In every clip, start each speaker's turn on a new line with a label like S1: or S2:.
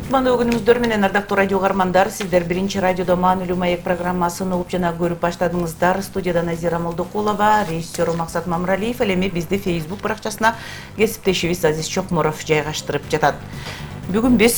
S1: Кутмандуу күнүңүздөр менен ардактуу радио угармандар, сиздер биринчи радиодо Маанилүү маек программасын угуп жана көрүп баштадыңыздар. Студияда Назира Молдокулова, режиссер Максат Мамралиев, ал эми бизди Facebook баракчасына кесиптешибиз Азиз Чокморов жайгаштырып жатат. Бүгүн биз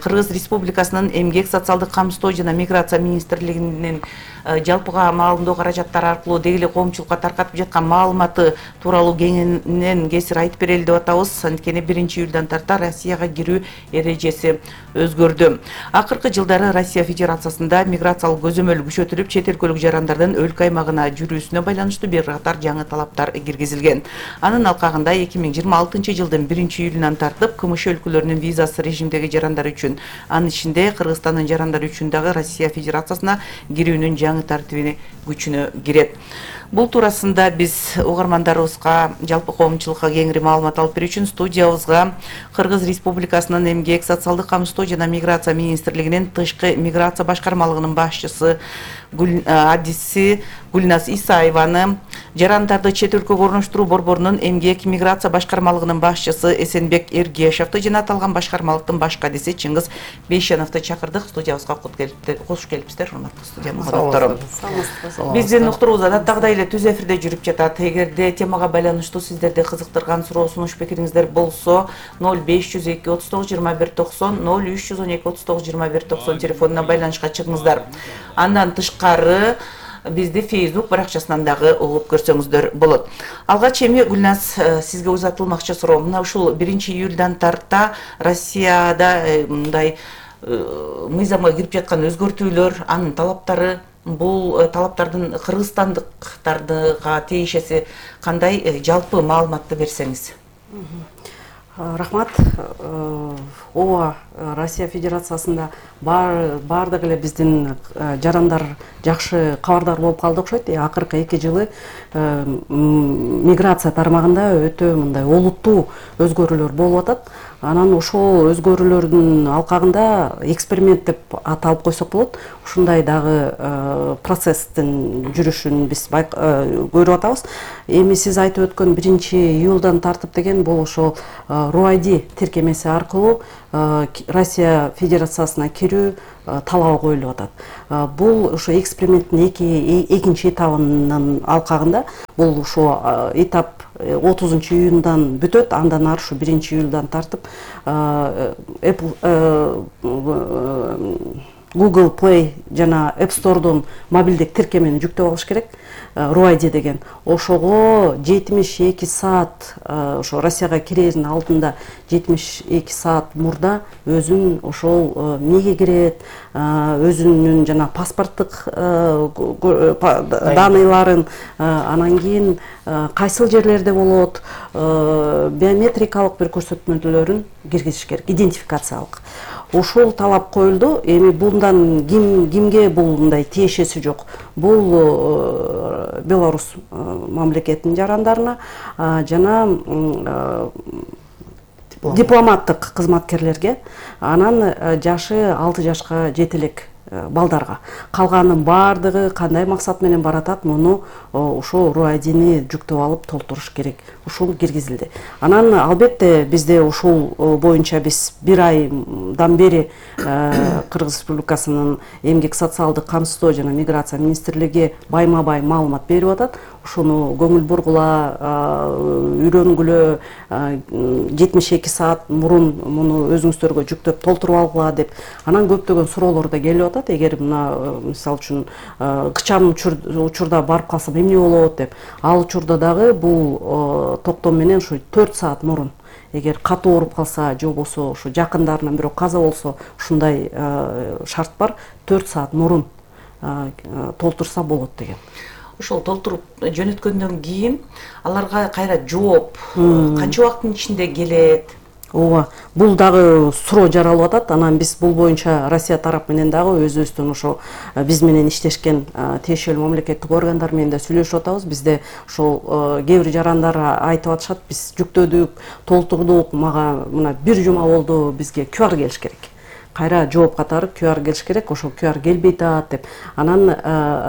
S1: Кыргыз Республикасынын Эмгек, социалдык камсыздоо жана миграция министрлигинин жалпыга маалымдоо каражаттары аркылуу деги эле коомчулукка таркатып жаткан маалыматы тууралуу кеңинен кесир айтып берели деп атабыз. Анткени 1-июлдан тарта Россияга кирүү эрежеси өзгөрдү. Акыркы жылдары Россия Федерациясында миграциялык көзөмөл күчөтүлүп, чет өлкөлүк жарандардын өлкө аймагына жүрүүсүнө байланыштуу бир катар жаңы талаптар киргизилген. Анын алкагында 2026 жылдын 1-июлунан тартып КМШ өлкөлөрүнүн визасы режимдеги жарандар үчүн, анын ичинде Кыргызстандын жарандары үчүн дагы Россия Федерациясына кирүүнүн жаңы тартиби күчүнө кирет. Бул туурасында биз угармандарыбызга, жалпы коомчулукка кеңири маалымат алып берүү үчүн студиябызга Кыргыз Республикасынын Эмгек, социалдык камсыздоо жана миграция министрлигинин тышкы миграция башкармалыгынын башчысы адиси Гүлназ Исаеваны, жарандарды чет өлкөгө орноштуруу борборунун Эмгек миграция башкармалыгынын башчысы Эсенбек Эргешевди жана аталган башкармалыктын баш адиси Чыңгыз Бейшеновду чакырдык. Студиябызга кош келипсиздер, урматтуу студиябыз коноктору. Биздин уктуруубуз адаттагыдай эле түз эфирде жүрүп жатат. Эгерде темага байланыштуу сиздерди кызыктырган суроо, сунуш, пикириңиздер болсо 0502 39 21 90, 0312 39 21 90 телефонуна байланышка чыгыңыздар. Андан тышкары бизди Facebook баракчасынан дагы угуп көрсөңүздөр болот. Алгач эми Гүлназ, сизге узатылмакчы суроо. Мына ушул 1-июлдан тарта Россияда мындай мыйзамга кирип жаткан өзгөртүүлөр, анын талаптары, бул талаптардын кыргызстандыктарга тиешеси кандай, жалпы маалыматты берсеңиз.
S2: Рахмат. Ооба, Россия Федерациясында бардык эле биздин жарандар жакшы кабардар болуп калды окшойт. Акыркы 2 жылы миграция тармагында өтө мындай олуттуу өзгөрүүлөр болуп атат. Анан ошол өзгөрүүлөрдүн алкагында эксперимент деп аталып койсок болот. Ушундай дагы процесстин жүрүшүн биз көрүп атабыз. Эми сиз айтып өткөн 1-июлдан тартып деген бул ошол RUID тиркемеси аркылуу Россия Федерациясына кирүү талабы коюлуп атат. Бул ошо эксперименттин экинчи этабынын алкагында бул ошо этап 30-июндан бүтөт. Андан ары ушу 1-июлдан тартып Google Play жана App Store'дон мобилдик тиркемени жүктөп алыш керек. RUID деген. Ошого 72 саат, ошо Россияга кирердин алдында 72 саат мурда өзүн ошол эмнеге кирет, өзүнүн жана паспорттук даныйларын, анан кийин кайсыл жерлерде болот, биометрикалык бир көрсөтмөлөрүн киргизиш керек, идентификациялык. Ушул талап коюлду. Эми bundan кимге бул мындай тиешеси жок. Бул Беларусь мамлекетинин жарандарына жана дипломаттык кызматкерлерге, анан жашы 6 жашка жете элек балдарга. Калганын бардыгы кандай максат менен баратат, муну ошол RUID-ни жүктөп алып толтуруш керек. Ушул киргизилди. Анан албетте бизде ушул боюнча биз 1 айдан бери Кыргыз Республикасынын Эмгек, социалдык камсыздоо жана миграция министрлиги байма-бай маалымат берип атат. Ушуну көңүл бургула, үйрөнгүлө, 72 саат мурун муну өзүңүздөргө жүктөп толтуруп алгыла деп. Анан көптөгөн суроолор да келип атат. Эгер мына мисалы үчүн кычан учурда барып калсам эмне болот деп. Ал учурда дагы бул токтом менен ушу 4 саат мурун, эгер катуу ооруп калса же болбосо ушу жакындарынан бирөө каза болсо, ушундай шарт бар, 4 саат мурун толтурса болот деген.
S1: Ошол толтуруп жөнөткөндөн кийин аларга кайра жооп канча убакыттын ичинде келет?
S2: Ооба, бул дагы суроо жаралып атат. Анан биз бул боюнча Россия тарап менен дагы өзүбүздүн ошо биз менен иштешкен тиешелүү мамлекеттик органдар менен да сүйлөшүп атабыз. Бизде ошол кээ бир жарандар айтып атышат, биз жүктөдүк, толтурдук, мага мына 1 жума болду, бизге QR келиш керек. кайра жооп катары QR келиш керек, ошол QR келбей атат деп. Анан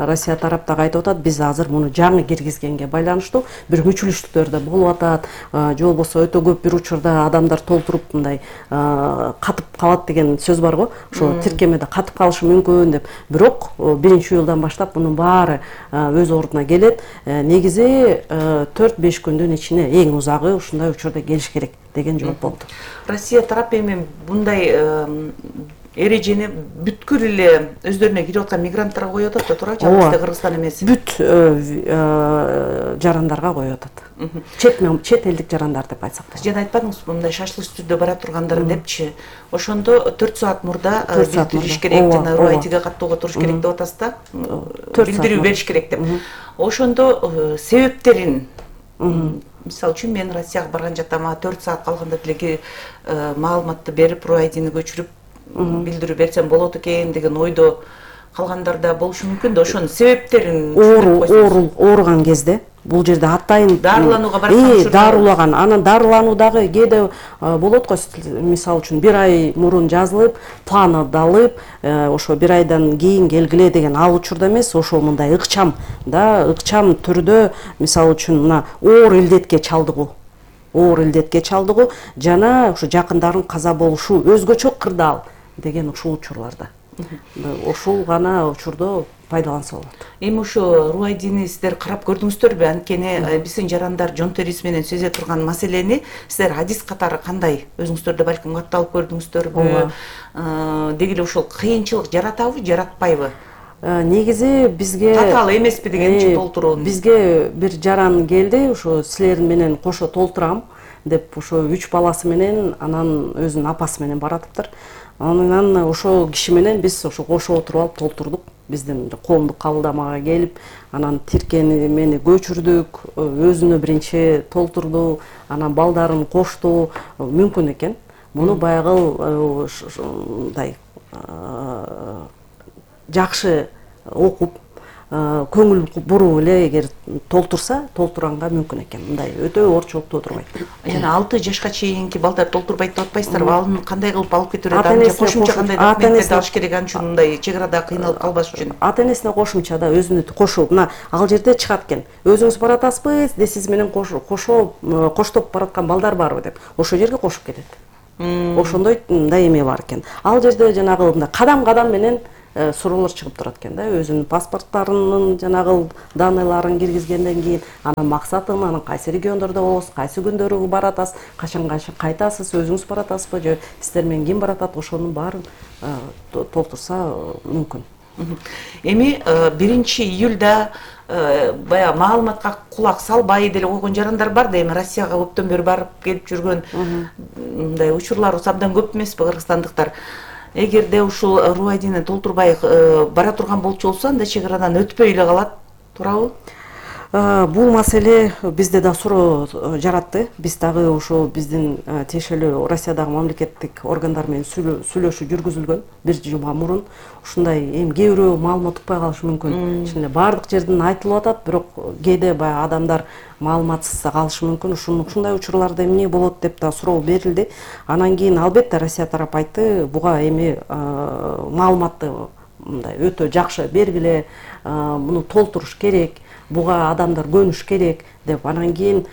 S2: Россия тараптагы айтып атат, биз азыр муну жаңы киргизгенге байланыштуу бир мүчүлүштүктөр да болуп атат, же болбосо өтө көп бир учурда адамдар толтуруп мындай катып калат деген сөз бар го, ошо тиркемеде катып калышы мүмкүн деп. Бирок 1-июлдан баштап мунун баары өз ордуна келет. Негизи 4-5 күндүн ичинде, эң узагы ушундай учурда келиш керек деген жооп болду.
S1: Россия тарап эми bunday эрежени бүткүл эле өздөрүнө кирип аткан мигранттарга коюп атат да, туура? Жалгыз Кыргызстан эмес.
S2: Бүт жарандарга коюп атат. Чет элдик жарандар деп айтсак да.
S1: Жана айтпадыңызбы, мындай шашлык түрдө бара тургандар депчи. Ошондо 4 саат мурда билдириш керек, жана руайтиге каттоого туруш керек деп атасыз да. Билдирүү бериш керек деп. Ошондо себептерин, мисалы үчүн мен Россияга барган жактам, 4 саат калганда деле маалыматты берип, руайдини көчүрүп билдирүү берсем болот экен деген ойдо калгандар да болушу мүмкүн да. Ошонун себептерин
S2: ооруган кезде бул жерде атайын
S1: дарыланууга барсам,
S2: дарылаган, анан дарылануу дагы кээде болот го, мисалы үчүн 1 ай мурун жазылып, планы алып, ошо 1 айдан кийин келгиле деген ал учурда эмес, ошо мындай ыкчам түрдө, мисалы үчүн мына оор илдетке чалдыгуу жана ушу жакындарын каза болушу өзгөчө кырдаал деген ушул учурларда. Ошол гана учурдо пайдаланса болот.
S1: Эми ошо руайдини сиздер карап көрдүңүздөрбү? Анткени биздин жарандар жон терisi менен сөзө турган маселени сиздер адис катары кандай? Өзүңүздөр да балким катталып көрдүңүздөрбү? Деги эле ошол кыйынчылык жаратабы, жаратпайбы?
S2: Негизи бизге
S1: татаал эмеспи дегенчи толтурууну.
S2: Бизге бир жаран келди, ошо силер менен кошо толтурам деп, ошо 3 баласы менен, анан өзүнүн апасы менен баратыптыр. Анан ошо киши менен биз ошо кошо отуруп алып толтурдук. Биздин коомдук кабылдамага келип, анан тиркемени көчүрдүк, өзүнө биринчи толтурду, анан балдарын кошту. Мүмкүн экен. Муну баягы мындай жакшы окуп, көңүл буруп эле эгер толтуранга мүмкүн экен. Мындай өтө орчулуктуу отурбайт.
S1: Жана 6 жашка чейинки балдар толтурбайт деп атпайсыздарбы? Аны кандай кылып алып кетүү керек? Кошумча кандай документтер алыш керек аны үчүн, мындай чек арада кыйналып калбаш үчүн?
S2: Ата-энесине кошумча да өзүнү кошуп, мына ал жерде чыгат экен. Өзүңүз баратасызбы, сиз менен коштоп бараткан балдар барбы деп. Ошол жерге кошуп кетет. Ошондой мындай эме бар экен. Ал жерде жанагы мындай кадам-кадам менен суроолор чыгып турат экен да, өзүнүн паспорттарынын жанагы данныйларын киргизгенден кийин, анан максатын, анан кайсы региондордо болосуз, кайсы күндөрү баратасыз, качан кайтасыз, өзүңүз баратасызбы, же сиздер менен ким баратат, ошонун баарын толтурса мүмкүн.
S1: Эми 1-июлда баягы маалыматка кулак салбай деле койгон жарандар бар да, эми Россияга көптөн бери барып келип жүргөн мындай учурларыбыз абдан көп эмеспи, кыргызстандыктар? Эгерде ушул руайдини толтурбай бара турган болчу болсо, анда чек арадан өтпөй эле калат, туурабы?
S2: Бул маселе бизде да суроо жаратты. Биз дагы ошо биздин тиешелүү Россиядагы мамлекеттик органдар менен сүйлөшүү жүргүзүлгөн 1 жума мурун. Ушундай эми кээ бирөө маалымат укпай калышы мүмкүн. Ишинде баардык жерден айтылып атат, бирок кээде баягы адамдар маалыматсыз калышы мүмкүн. Ушундай учурларда эмне болот деп да суроо берилди. Анан кийин албетте Россия тарап айтты, буга эми маалыматты мындай өтө жакшы бергиле, муну толтуруш керек, буга адамдар көнүш керек деп. Анан кийин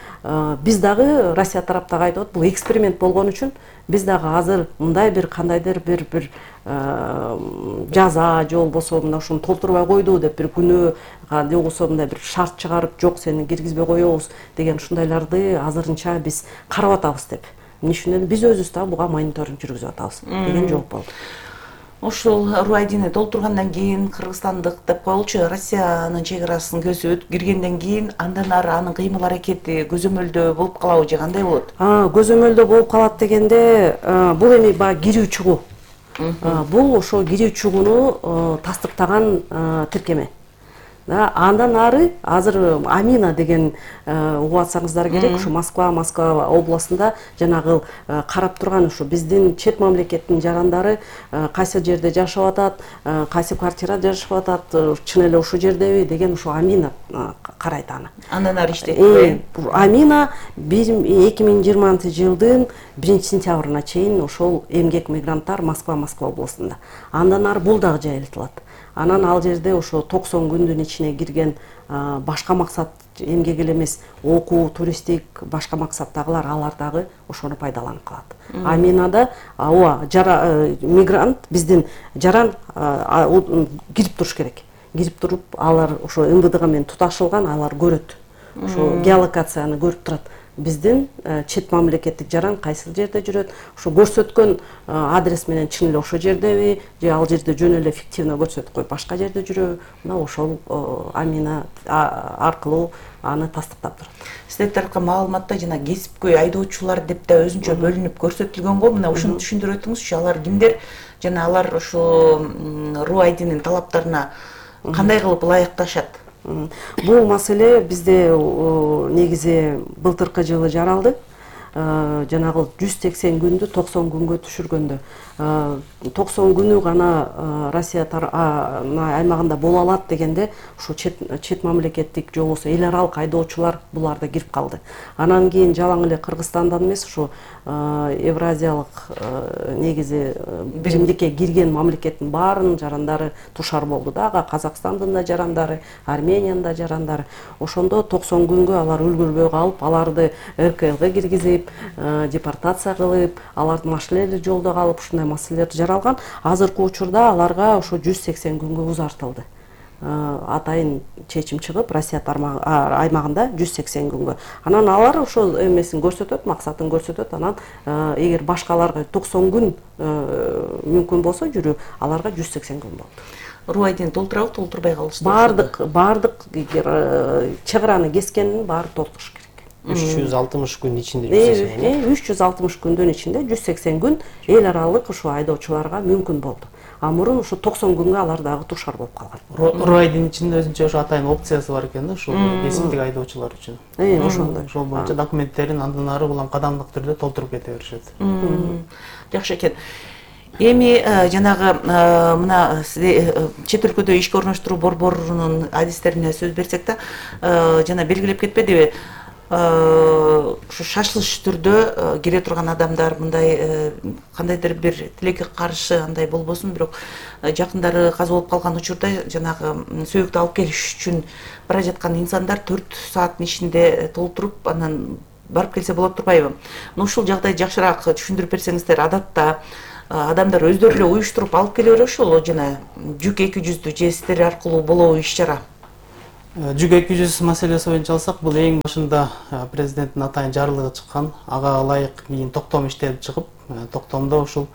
S2: биз дагы Россия тараптагы айтып атат, бул эксперимент болгон үчүн биз дагы азыр мындай бир кандайдыр бир жаза же болбосо мына ушуну толтурбай койду деп бир күнөө же болбосо мындай бир шарт чыгарып, жок сени киргизбей коебуз деген ушундайларды азырынча биз карап атабыз деп. Эмне үчүн биз өзүбүз дагы буга мониторинг жүргүзүп атабыз деген жооп болду.
S1: Ошол руайдини толтургандан кийин кыргызстандык деп коелучу, Россиянын чек арасын көзүп киргенден кийин андан ары анын кыймыл аракети көзөмөлдө болуп калабы же кандай болот?
S2: Көзөмөлдө болуп калат дегенде, бул эми баягы кирүү чыгуу. Бул ошо кирүү чыгууну тастыктаган тиркеме. Андан ары азыр Амина деген угуп атсаңыздар керек, ушу Москва областында жанагы карап турган ушу биздин чет мамлекеттин жарандары кайсы жерде жашап атат, кайсы квартирада жашап атат, чын эле ушул жердеби деген ушу Амина карайт аны.
S1: Андан ары иштейт.
S2: Амина 2020-жылдын 1-сентябрына чейин ошол эмгек мигранттар Москва областында. Андан ары бул дагы жайылтылат. Анан ал жерде ошо 90 күндүн ичине кирген башка максат эмгек эле эмес, окуу, туристтик, башка максаттагылар алар дагы ошону пайдаланып калат. Аминада мигрант биздин жаран кирип туруш керек. Кирип туруп, алар ошо МВДга менен туташылган, алар көрөт. Ошо геолокацияны көрүп турат. Биздин чет мамлекеттик жаран кайсы жерде жүрөт, ошо көрсөткөн адрес менен чын эле ошол жердеби, же ал жерде жөн эле фиктивно көрсөтүп коюп башка жерде жүрөбү, мына ошол Амина аркылуу аны тастыктап турат.
S1: Сиздер тарапка маалыматта жана кесипкөй айдоочулар деп да өзүнчө бөлүнүп көрсөтүлгөн го. Мына ушуну түшүндүрүп өтүңүзчү, алар кимдер жана алар ошо РУ-айдинин талаптарына кандай кылып ылайыкташат?
S2: Бул маселе бизде негизи былтыркы жылы жаралды. Жанагы 180 күндү 90 күнгө түшүргөндө 90 күнү гана Россия аймагында боло алат дегенде ушу чет мамлекеттик же болбосо эл аралык айдоочулар буларда кирип калды. Анан кийин жалаң эле Кыргызстандан эмес, ушу Евразиялык негизи биримдикке кирген мамлекеттин баарынын жарандары тушар болду да, Казакстандын да жарандары, Армениянын да жарандары. Ошондо 90 күнгө алар үлгүрбөй калып, аларды РКЛга киргизип, депортация кылып, алардын машинелери жолдо калып, ушундай маселелер жаралган. Азыркы учурда аларга ошо 180 күнгө узартылды. Атайын чечим чыгып, Россия аймагында 180 күнгө. Анан алар ошол эмесин көрсөтөт, максатын көрсөтөт. Анан эгер башкаларга 90 күн мүмкүн болсо жүрүү, аларга 180 күн болду.
S1: РУ-айдин толтурабы, толтурбай калышты?
S2: Бардык чыгараны кескендин баары толтуруш керек.
S3: 360 күн ичинде
S2: 360 күндүн ичинде 180 күн эл аралык ушу айдоочуларга мүмкүн болду. А мурун ушу 90 күнгө алар дагы тушар болуп калган.
S3: РУ-айдин ичинде өзүнчө ошо атайын опциясы бар экен да, ушул кесиптик айдоочулар үчүн.
S2: Ошондой.
S3: Ошол боюнча документтерин андан ары улам кадамдык түрдө толтуруп кете беришет.
S1: Жакшы экен. Эми жанагы мына чет өлкөдө ишке орноштуруу борборунун адистерине сөз берсек да, жана белгилеп кетпедиби? Ушу шашылыш түрдө кире турган адамдар мындай кандайдыр бир тилекке каршы андай болбосун, бирок жакындары каза болуп калган учурда жанагы сөөктү алып келиш үчүн бара жаткан инсандар 4 сааттын ичинде толтуруп анан барып келсе болот турбайбы? Ушул жагдайды жакшыраак түшүндүрүп берсеңиздер. Адатта адамдар өздөрү эле уюштуруп алып келе бериши, жана жүк 200 же сиздер аркылуу болобу иш-чара?
S3: Жүк 200 маселеси боюнча алсак, бул эң башында президенттин атайын жарлыгы чыккан, ага ылайык кийин токтом иштелип чыгып, токтомдо ушул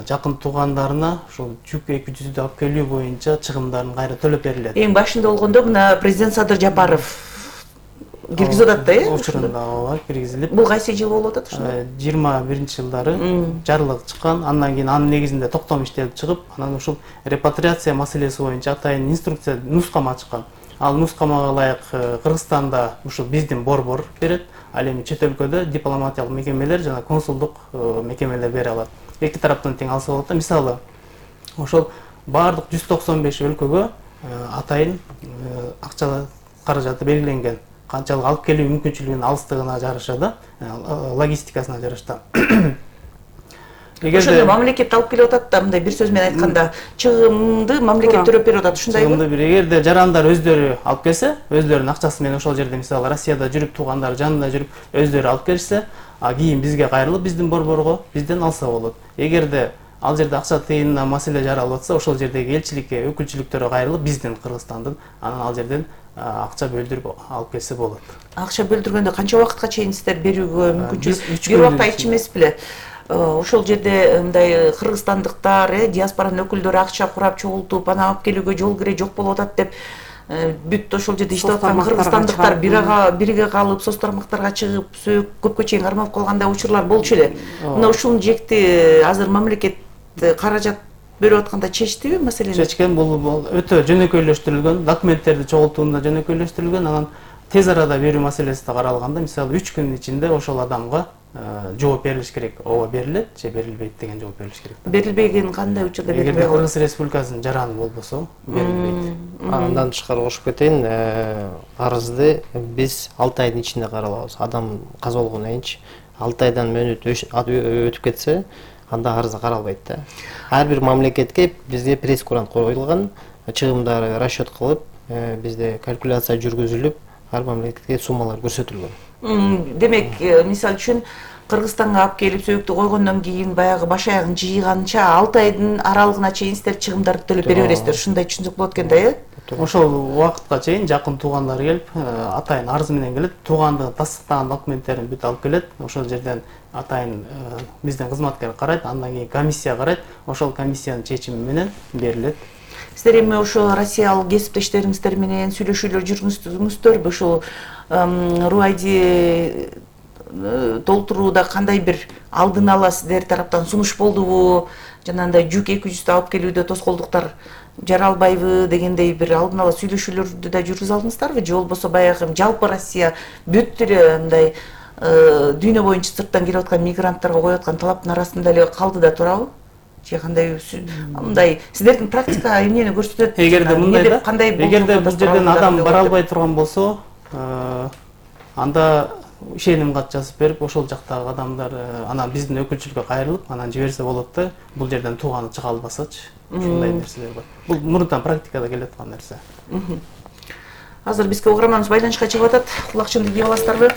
S3: жакын туугандарына ушул жүк 200 алып келүү боюнча чыгымдарын кайра төлөп берилет.
S1: Эң башында болгондо мына президент Садыр Жапаров киргизип атат да,
S3: Учурунда ооба киргизилип.
S1: Бул кайсы жыл болуп атат ошондо?
S3: 21-жылдары жарлык чыккан, андан кийин анын негизинде токтом иштелип чыгып, анан ушул репатриация маселеси боюнча атайын инструкция, нускама чыккан. Ал нускамага ылайык Кыргызстанда ушул биздин борбор берет, ал эми чет өлкөдө дипломатиялык мекемелер жана консулдук мекемелер бере алат. Эки тараптан тең алса болот да. Мисалы, ошол баардык 195 өлкөгө атайын акча каражаты белгиленген. Канчалык алып келүү мүмкүнчүлүгүнүн алыстыгына жараша да, логистикасына жараша.
S1: Ошондо мамлекет алып келип атат да, мындай бир сөз менен айтканда, чыгымды мамлекет төрөп берип атат, ушундайбы?
S3: Чыгымды эгерде жарандар өздөрү алып келсе, өздөрүнүн акчасы менен ошол жерде мисалы Россияда жүрүп, туугандары жанында жүрүп, өздөрү алып келишсе, кийин бизге кайрылып, биздин борборго бизден алса болот. Эгерде ал жерде акча тыйынына маселе жаралып атса, ошол жердеги элчиликке, өкүлчүлүктөргө кайрылып, биздин Кыргызстандын, анан ал жерден акча бөлдүрүп алып келсе болот. Акча
S1: бөлдүргөндө канча убакытка чейин сиздер берүүгө мүмкүнчүлүк? Бир убакта айтчу эмес беле? Ошол жерде мындай кыргызстандыктар, диаспоранын өкүлдөрү акча курап чогултуп, аны алып келүүгө жол кире жок болуп атат деп, бүт ошол жерде иштеп аткан кыргызстандыктар бирге калып, соц тармактарга чыгып, көпкө чейин кармап калгандай учурлар болчу эле. Мына ушунун жекти азыр мамлекет каражат берип атканда чечтиби маселени?
S3: Чечкен, бул өтө жөнөкөйлөштүрүлгөн, документтерди чогултууда жөнөкөйлөштүрүлгөн, анан тез арада берүү маселеси да каралганда, мисалы 3 күн ичинде ошол адамга жооп берилиш керек. Ооба берилет же берилбейт деген жооп берилиш керек.
S1: Берилбеген кандай учурда берилбейт?
S3: Эгерде Кыргыз Республикасынын жараны болбосо берилбейт.
S4: Андан тышкары кошуп кетейин, арызды биз 6 айдын ичинде каралабыз. Адам каза болгондон кийинчи 6 айдан мөөнөт өтүп кетсе, анда арызы каралбайт да. Ар бир мамлекетке бизге пресс-курант коюлган, чыгымдары расчет кылып, бизде калькуляция жүргүзүлүп, ар мамлекетке суммалар көрсөтүлгөн.
S1: Демек, мисалы үчүн Кыргызстанга алып келип сөйүктү койгондон кийин баягы баш аягын жыйганча 6 айдын аралыгына чейин сиздер чыгымдарды төлөп бере бересиздер. Ушундай түшүнсөк болот экен да, э?
S3: Ошол убакытка чейин жакын туугандар келип, атайын арыз менен келет, туугандыгын тастыктаган документтерин бүт алып келет. Ошол жерден атайын биздин кызматкер карайт, андан кийин комиссия карайт. Ошол комиссиянын чечими менен берилет.
S1: Сиздер эми ошо Россиялык кесиптештериңиздер менен сүйлөшүүлөр жүргүздүңүздөрбү? Ошол РУАЙДи толтурууда кандай бир алдын ала сиздер тараптан сунуш болдубу? Жанагындай жүк 200 алып келүүдө тоскоолдуктар жаралбайбы дегендей бир алдын ала сүйлөшүүлөрдү да жүргүзө алдыңыздарбы? Же болбосо баягы жалпы Россия бүт эле мындай дүйнө боюнча сырттан келип аткан мигранттарга коюп аткан талаптын арасында эле калды да турабы? Же кандай мындай сиздердин практика эмнени көрсөтөт?
S3: Эгерде мындай да, эгерде бул жерден адам бара албай турган болсо, анда ишеним кат жазып берип, ошол жактагы адамдар анан биздин өкүлчүлүккө кайрылып, анан жиберсе болот да. Бул жерден тууганы чыга албасачы. Ушундай нерселер бар. Бул мурунтан практикада келе аткан нерсе.
S1: Азыр бизге угарманыбыз байланышка чыгып атат. Кулакчынды кийип аласыздарбы?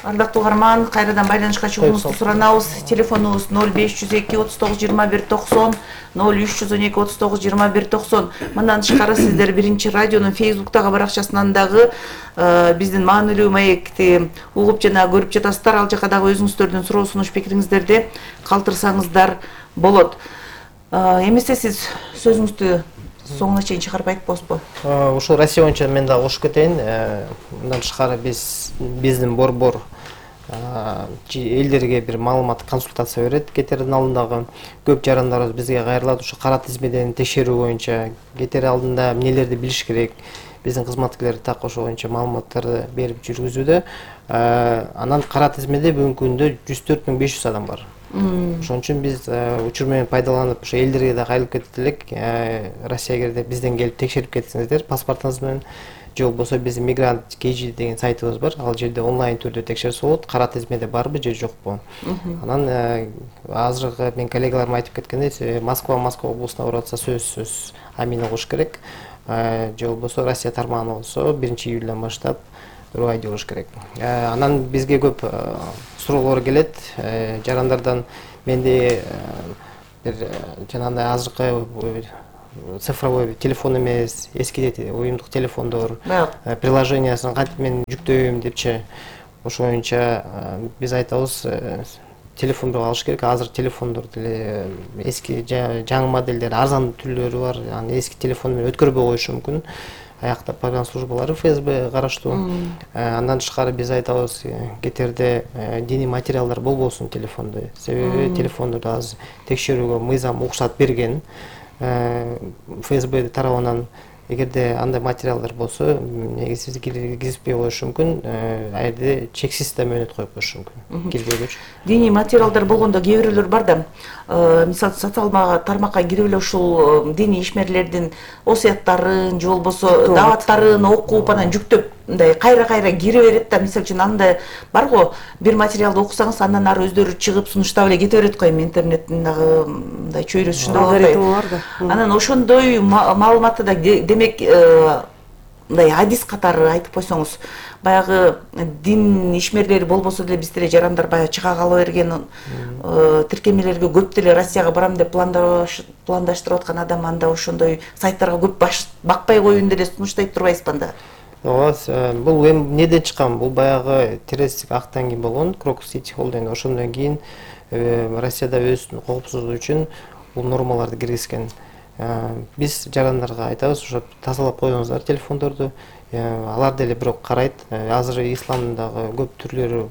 S1: Ардактуу угарман, кайрадан байланышка чыгууңузду суранабыз. Телефонубуз 0502 39 21 90, 0312 39 21 90. Мындан тышкары сиздер биринчи радионун Facebook'тагы баракчасынан дагы биздин маанилүү маекти угуп жана көрүп жатасыздар. Ал жака дагы өзүңүздөрдүн суроо сунуш пикириңиздерди калтырсаңыздар болот. Эмесе сиз сөзүңүздү соңуна чейин чыгарып айтпосузбу?
S4: Ушул Россия боюнча мен дагы кошуп кетейин. Мындан тышкары биздин борбор элдерге бир маалымат, консультация берет. Кетердин алдындагы көп жарандарыбыз бизге кайрылат. Ушу кара тизмеден текшерүү боюнча кетер алдында эмнелерди билиш керек. Биздин кызматкерлер так ошол боюнча маалыматтарды берип жүргүзүүдө. Анан кара тизмеде бүгүнкү күндө 104.500 адам бар. Ошон үчүн биз учур менен пайдаланып, ошо элдерге да кайрылып кетет элек. Россиягерде бизден келип текшерип кетсеңиздер паспортуңуз менен, же болбосо биздин Мигрант KG деген сайтыбыз бар. Ал жерде онлайн түрдө текшерсе болот, кара тизмеде барбы же жокпу. Анан азыркы мен коллегаларым айтып кеткендей, Москва облусуна барып атса сөзсүз амина кош керек. Же болбосо Россия тармагына болсо 1-июлдан баштап РУАЙДи кош керек. Анан бизге көп суроолор келет жарандардан. Менде бир жанагындай азыркы цифровой телефон эмес, эски уюмдук телефондор, приложениясын кантип мен жүктөйм депчи. Ошол боюнча биз айтабыз, телефонду алыш керек. Азыр телефондор деле эски жаңы модельдер, арзан түрлөрү бар. Аны эски телефон менен өткөрбөй коюшу мүмкүн. Аяктап барган службалары ФСБ караштуу. Андан тышкары биз айтабыз, кетерде диний материалдар болбосун телефондо. Себеби телефондорду азыр текшерүүгө мыйзам уруксат берген. ФСБ тарабынан эгерде андай материалдар болсо, негизсиз киргизбей коюшу мүмкүн. А жерде чексиз да мөөнөт коюп коюшу мүмкүн. Кирбегүчү.
S1: Диний материалдар болгондо кээ бирөөлөр бар да. Мисалы социалдык тармакка кирип эле ушул диний ишмерлердин осуяттарын, же болбосо дааваттарын окуп, анан жүктөп мындай кайра кире берет да. Мисалы үчүн андай бар го, бир материалды окусаңыз, андан ары өздөрү чыгып сунуштап эле кете берет го. Эми интернеттин дагы мындай чөйрөсү ушундай болот. Анан ошондой маалыматты да демек мындай адис катары айтып койсоңуз, баягы дин ишмерлери болбосо деле биз деле жарандар баягы чыга кала берген тиркемелерге көп деле Россияга барам деп пландаштырып аткан адам анда ошондой сайттарга көп бакпай коюун деле сунуштайт турбайсызбы анда?
S4: Ооба, бул эми неден чыккан? Бул баягы террористтик акттан кийин болгон, Крокус Сити Холдинг. Ошондон кийин Россияда өзүнүн коопсуздугу үчүн бул нормаларды киргизген. Биз жарандарга айтабыз, ошо тазалап коюңуздар телефондорду. Алар деле бирок карайт. Азыр исламдагы көп түрлөрү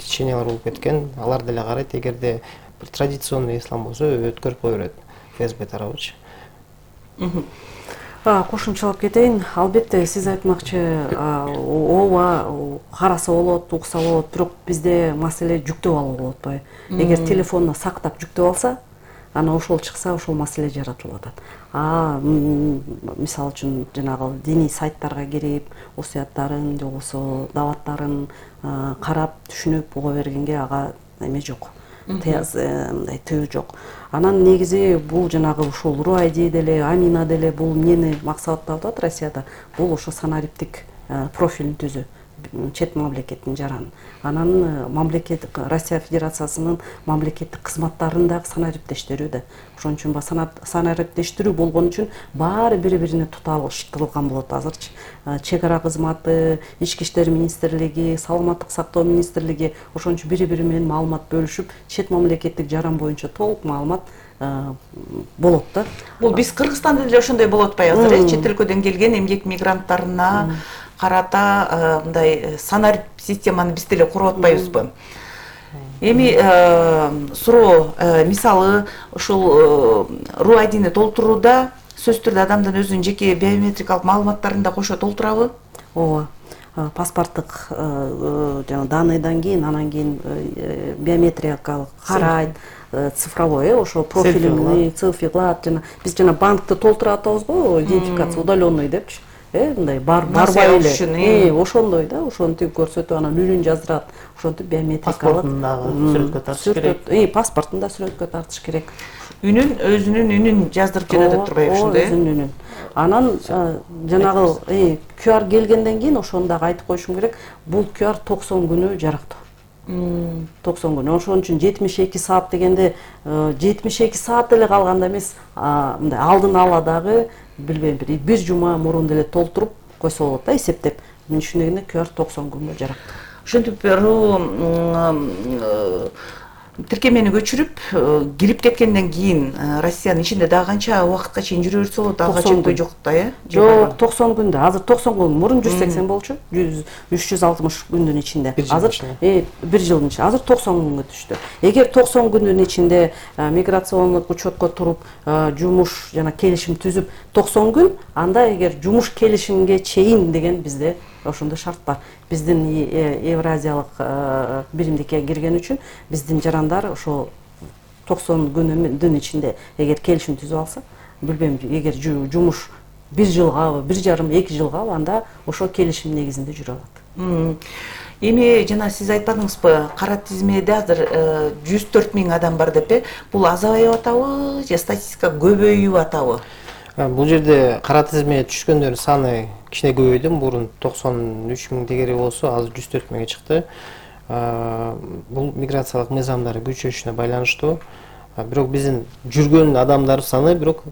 S4: течениялар болуп кеткен. Алар деле карайт. Эгерде бир традиционный ислам болсо өткөрүп кое берет ФСБ тарабычы.
S2: Кошумчалап кетейин. Албетте сиз айтмакчы, ооба караса болот, укса болот, бирок бизде маселе жүктөп алуу болуп атпайбы? Эгер телефонуна сактап жүктөп алса, ана ошол чыкса, ошол маселе жаратылып атат. Мисалы үчүн жанагы диний сайттарга кирип, осуяттарын же болбосо даваттарын карап, түшүнүп ого бергенге ага эме жок. Мындай тыюу жок. Анан негизи бул жанагы ушул РУ-ID деле, Амина деле бул эмнени максаттап атат Россияда? Бул ошо санариптик профилин түзүү. Чет мамлекеттин жараны. Анан мамлекет Россия Федерациясынын мамлекеттик кызматтарын дагы санариптештирүү да. Ошон үчүн санариптештирүү болгон үчүн баары бири-бирине туталыштырылган болот азырчы. Чек ара кызматы, Ички иштер министрлиги, Саламаттык сактоо министрлиги ошон үчүн бири-бири менен маалымат бөлүшүп, чет мамлекеттик жаран боюнча толук маалымат болот да.
S1: Бул биз Кыргызстанда деле ошондой болуп атпайбы азыр? Чет өлкөдөн келген эмгек мигранттарына карата мындай санарип системаны биз деле куруп атпайбызбы? Эми суроо, мисалы, ушул РУ-IDни толтурууда сөзсүз түрдө адамдын өзүнүн жеке биометрикалык маалыматтарын да кошо толтурабы?
S2: Ооба. Паспорттук жана данныйдан кийин, анан кийин биометрикалык карайт, цифровой, ошо профилиңди, цифрлап, жана биз жана банкты толтуруп атабызбы, идентификация удаленный депчи. Мындай барбай эле. Ошондой да, ошонтип көрсөтүп анан үнүн жаздырат. Ошентип биометрикалык
S3: сүрөткө тартыш керек.
S2: Паспортун да сүрөткө тартыш керек.
S1: Өзүнүн үнүн жаздырып жөнөтүп турбайбы ошондой?
S2: Өзүнүн үнүн. Анан жанагы QR келгенден кийин ошону дагы айтып коюшум керек. Бул QR 90 күнү жарактуу. 90 күн. Ошон үчүн 72 саат дегенде 72 саат деле калганда эмес, мындай алдын ала дагы билбейм, бир жума мурун деле толтуруп койсо болот да, эсептеп. Мен түшүнгөндө QR 90 күнгө жарактуу.
S1: Ошентип тиркемени көчүрүп кирип кеткенден кийин Россиянын ичинде дагы канча убакытка чейин жүрө берсе болот? Ага чектөө жок да, э?
S2: Жок, 90 күндө. Азыр 90 күн, мурун 180 болчу. 360 күндүн ичинде. Азыр бир жылдын ичинде. Азыр 90 күнгө түштү. Эгер 90 күндүн ичинде миграциондук учетко туруп, жумуш жана келишим түзүп 90 күн, анда эгер жумуш келишимге чейин деген бизде ошондой шарт бар. Биздин Евразиялык биримдикке кирген үчүн биздин жарандар ошо 90 күндүн ичинде эгер келишим түзүп алса, билбейм, эгер жумуш 1 жылгабы, 1,5-2 жылгабы, анда ошо келишим негизинде жүрө алат.
S1: Эми жана сиз айтпадыңызбы, кара тизмеде азыр 104 000 адам бар деп, бул азайып атабы же статистика көбөйүп атабы?
S4: Бул жерде кара тизмеге түшкөндөрдүн саны кичине көбөйдү. Мурун 93 000 дегери болсо, азыр 104 000ге чыкты. Бул миграциялык мыйзамдары күчөшүнө байланыштуу. Бирок биздин жүргөн адамдар саны бирок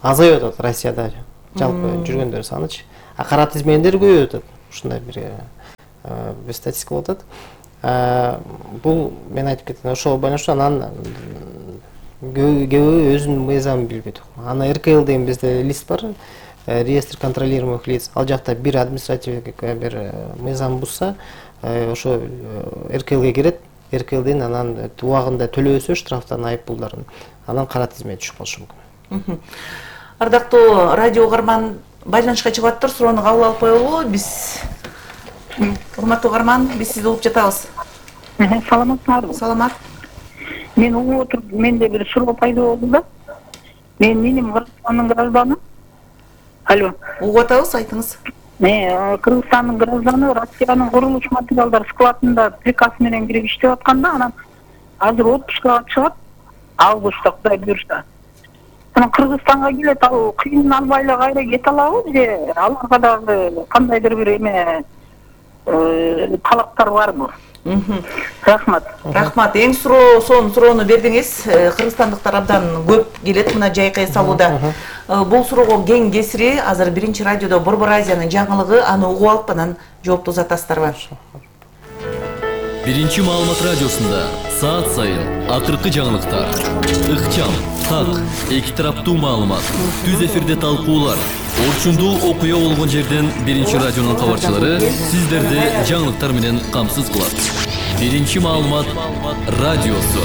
S4: азайып атат Россияда. Жалпы жүргөндөр санычы. Кара тизмедер көбөйүп атат. Ушундай бир статистика болуп атат. Бул мен айтып кеттим, ошого байланыштуу. Анан көбү өзүнүн мыйзамын билбейт. Ана РКЛ деген бизде лист бар, реестр контролируемых лиц. Ал жакта бир административдик бир мыйзам бузса, ошо РКЛге кирет, РКЛден анан убагында төлөбөсө штрафтан, айыппулдарын, анан кара тизмеге түшүп калышы мүмкүн.
S1: Ардактуу радио угарман, байланышка чыгып аттыр, суроону кабыл алып коелу. Биз урматтуу угарман, биз сизди угуп жатабыз.
S5: Саламатсыздарбы?
S1: Саламат.
S5: Мен угуп отуруп, менде бир суроо пайда болду да. Менин Кыргызстандын гражданы. Алло.
S1: Угуп атабыз, айтыңыз.
S5: Кыргызстандын гражданы Россиянын курулуш материалдар складында приказ менен кирип иштеп атканда, анан азыр отпускага чыгат, августта Кудай буюрса. Анан Кыргызстанга келет, ал кыйын албай эле кайра кете алабы же аларга дагы кандайдыр бир эме талаптар барбы? Рахмат.
S1: Рахмат. Эң сонун суроону бердиңиз. Кыргызстандыктар абдан көп келет мына жайкы эс алууда. Бул суроого кең кесири азыр биринчи радиодо Борбор Азиянын жаңылыгы, аны угуп алып анан жоопту узатасыздарбы?
S6: Биринчи маалымат радиосунда саат сайын акыркы жаңылыктар, ыкчам, так, эки тараптуу маалымат, түз эфирде талкуулар, орчундуу окуя болгон жерден биринчи радионун кабарчылары сиздерди жаңылыктар менен камсыз кылат. Биринчи маалымат радиосу.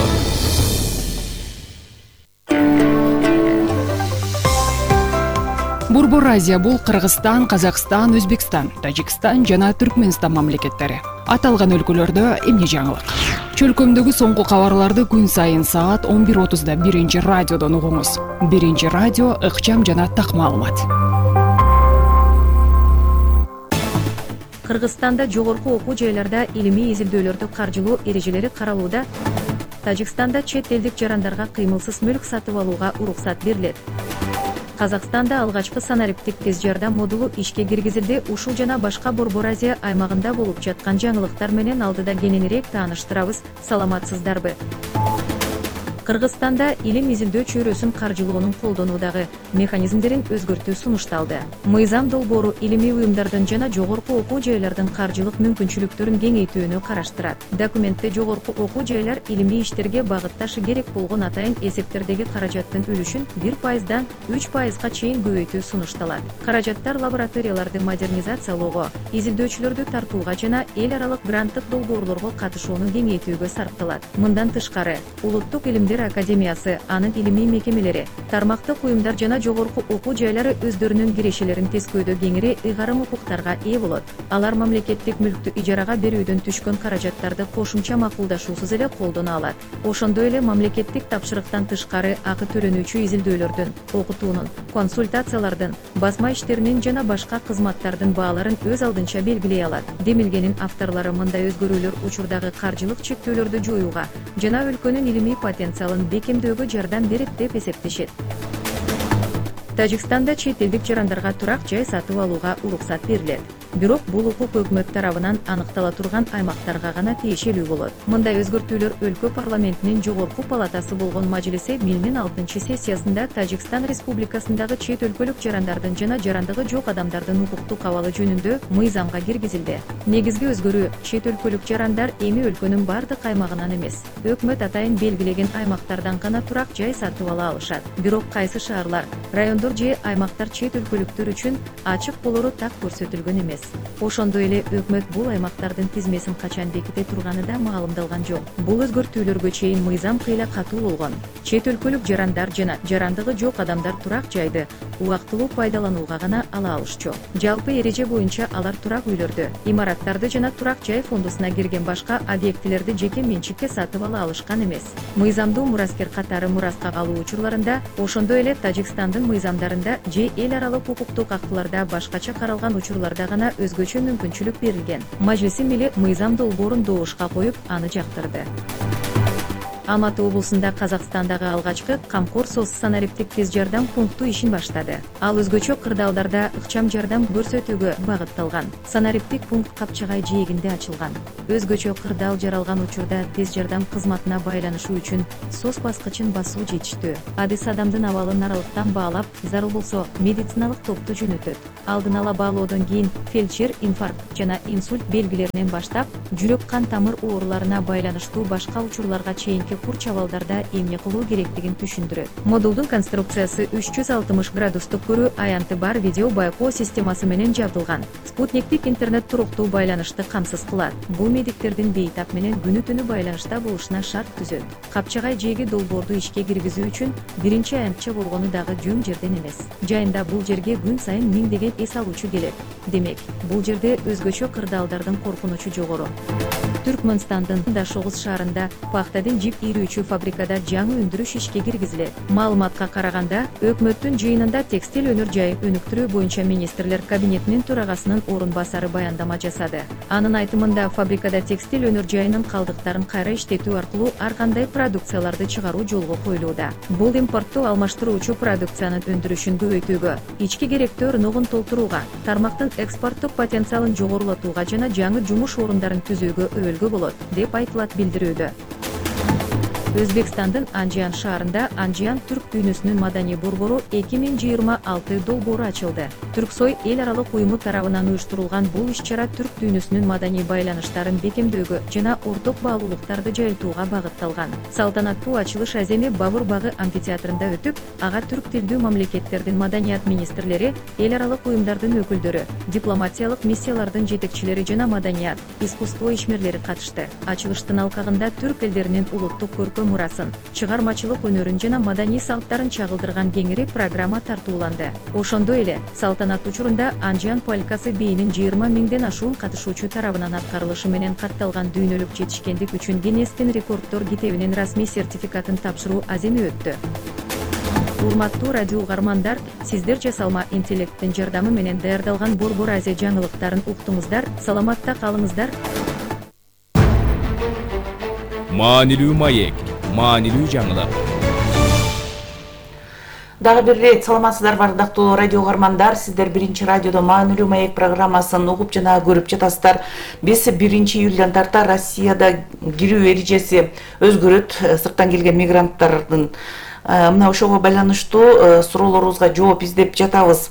S7: Борбор Азия бул Кыргызстан, Казакстан, Өзбекстан, Тажикстан жана Түркмөнстан мамлекеттери. Аталган өлкөлөрдө эмне жаңылык? Чөлкөмдөгү соңку кабарларды күн сайын саат 11:30 биринчи радиодон угуңуз. Биринчи радио ыкчам жана так маалымат.
S8: Кыргызстанда жогорку окуу жайларда илимий изилдөөлөрдү каржылоо эрежелери каралууда. Тажикстанда чет элдик жарандарга кыймылсыз мүлк сатып алууга уруксат берилет. Казакстанда алгачкы санариптик тез жардам модулу ишке киргизилди. Ушул жана башка Борбор Азия аймагында болуп жаткан жаңылыктар менен алдыда кененирээк тааныштырабыз. Саламатсыздарбы? Кыргызстанда илим изилдөө чөйрөсүн каржылоонун колдонуудагы механизмдерин өзгөртүү сунушталды. Мыйзам долбоору илимий уюмдардын жана жогорку окуу жайлардын каржылык мүмкүнчүлүктөрүн кеңейтүүнү караштырат. Документте жогорку окуу жайлар илимий иштерге багытташы керек болгон атайын эсептердеги каражаттын үлүшүн 1%дан 3%га чейин көбөйтүү сунушталат. Каражаттар лабораторияларды модернизациялоого, изилдөөчүлөрдү тартууга жана эл аралык гранттык долбоорлорго катышууну кеңейтүүгө сарпталат. Мындан тышкары, Улуттук илимдер академиясы, анын илимий мекемелери, тармактык уюмдар жана жогорку окуу жайлары өздөрүнүн кирешелерин тескөөдө кеңири ыйгарым укуктарга ээ болот. Алар мамлекеттик мүлктү ижарага берүүдөн түшкөн каражаттарды кошумча макулдашуусуз эле колдоно алат. Ошондой эле мамлекеттик тапшырыктан тышкары акы төлөнүүчү изилдөөлөрдүн, окутуунун, консультациялардын, басма иштеринин жана башка кызматтардын бааларын өз алдынча белгилей алат. Демилгенин авторлору мындай өзгөрүүлөр учурдагы каржылык чектөөлөрдү жоюуга жана өлкөнүн илимий потенциалын бекемдөөгө жардам берет деп эсептешет. Тажикстанда чет элдик жарандарга турак жай сатып алууга уруксат берилет. Бирок бул укук өкмөт тарабынан аныктала турган аймактарга гана тиешелүү болот. Мындай өзгөртүүлөр өлкө парламентинин жогорку палатасы болгон Majlisi Mil'nin 6-сессиясында Тажикстан Республикасындагы чет өлкөлүк жарандардын жана жарандыгы жок адамдардын укуктук абалы жөнүндө мыйзамга киргизилди. Негизги өзгөрүү чет өлкөлүк жарандар эми өлкөнүн бардык аймагынан эмес, өкмөт атайын белгилеген аймактардан гана турак жай сатып ала алышат. Бирок кайсы шаарлар, райондор же аймактар чет өлкөлүктөр үчүн ачык болору так көрсөтүлгөн эмес. Ошондой эле өкмөт бул аймактардын тизмесин качан беките турганы да маалымдалган жок. Бул өзгөртүүлөргө чейин мыйзам кыйла катуу болгон. Чет өлкөлүк жарандар жана жарандыгы жок адамдар турак жайды убактылуу пайдаланууга гана ала алышчу. Жалпы эреже боюнча алар турак үйлөрдү, имараттарды жана турак жай фондусуна кирген башка объектилерди жеке менчикке сатып ала алышкан эмес. Мыйзамдуу мураскер катары мураска калуу учурларында, ошондой эле Тажикстандын мыйзамдарында же эл аралык укуктук актыларда башкача каралган учурларда гана өзгөчө мүмкүнчүлүк берилген. Majlisi Mil'i мыйзам долбоорун добушка коюп, аны жактырды. Алматы облусунда Казакстандагы алгачкы камкор соц санариптик тез жардам пункту ишин баштады. Ал өзгөчө кырдаалдарда ыкчам жардам көрсөтүүгө багытталган. Санариптик пункт Капчагай жээгинде ачылган. Өзгөчө кырдаал жаралган учурда тез жардам кызматына байланышуу үчүн соц баскычын басуу жетиштүү. Адис адамдын абалын аралыктан баалап, зарыл болсо медициналык топту жөнөтөт. Алдын ала баалоодон кийин фельдшер инфаркт жана инсульт белгилеринен баштап, жүрөк кан тамыр ооруларына байланыштуу башка учурларга чейинки курч абалдарда эмне кылуу керектигин түшүндүрөт. Модулдун конструкциясы 360 градустук көрүү аянты бар видео байкоо системасы менен жабдылган. Спутниктик интернет туруктуу байланышты камсыз кылат. Бул медиктердин бейтап менен күнү түнү байланышта болушуна шарт түзөт. Капчагай жээги долбоорду ишке киргизүү үчүн биринчи аянтча болгону дагы жөн жерден эмес. Жайында бул жерге күн сайын миңдеген эс алуучу келет. Демек, бул жерде өзгөчө кырдаалдардын коркунучу жогору. Түркмөнстандын Дашогуз шаарында пахтадын жип ийрүүчү фабрикада жаңы өндүрүш ишке киргизилет. Маалыматка караганда, өкмөттүн жыйынында текстиль өнөр жайы өнүктүрүү боюнча министрлер кабинетинин төрагасынын орун басары баяндама жасады. Анын айтымында, фабрикада текстиль өнөр жайынын калдыктарын кайра иштетүү аркылуу ар кандай продукцияларды чыгаруу жолго коюлууда. Бул импортту алмаштыруучу продукциянын өндүрүшүн көбөйтүүгө, ички керектөө ырногун толтурууга, тармактын экспорттук потенциалын жогорулатууга жана жаңы жумуш орундарын түзүүгө өбөлгө болот, деп айтылат билдирүүдө. Өзбекстандын Анжиан шаарында Анжиан түрк дүйнөсүнүн маданий борбору 2026 долбоору ачылды. Түрксой эл аралык уюму тарабынан уюштурулган бул иш-чара түрк дүйнөсүнүн маданий байланыштарын бекемдөөгө жана орток баалуулуктарды жайылтууга багытталган. Салтанаттуу ачылыш аземи Бабур багы амфитеатрында өтүп, ага түрк тилдүү мамлекеттердин маданият министрлери, эл аралык уюмдардын өкүлдөрү, дипломатиялык миссиялардын жетекчилери жана маданият, искусство ишмерлери катышты. Ачылыштын алкагында түрк элдеринин улуттук көркөм өлкө мурасын, чыгармачылык өнөрүн жана маданий салттарын чагылдырган кеңири программа тартууланды. Ошондой эле салтанат учурунда Анжан полкасы бийинин 20 миңден ашуун катышуучу тарабынан аткарылышы менен катталган дүйнөлүк жетишкендик үчүн Гиннестин рекорддор китебинин расмий сертификатын тапшыруу аземи өттү. Урматтуу радио угармандар, сиздер жасалма интеллекттин жардамы менен даярдалган Борбор Азия жаңылыктарын уктуңуздар. Саламатта калыңыздар.
S9: Маанилүү маек, маанилүү жаңылык.
S1: Дагы бир ирет саламатсыздарбы ардактуу радио угармандар, сиздер биринчи радиодо Маанилүү маек программасын угуп жана көрүп жатасыздар. Биз 1-июлдан тарта Россияда кирүү эрежеси өзгөрөт. Сырттан келген мигранттардын мына ошого байланыштуу суроолорубузга жооп издеп жатабыз.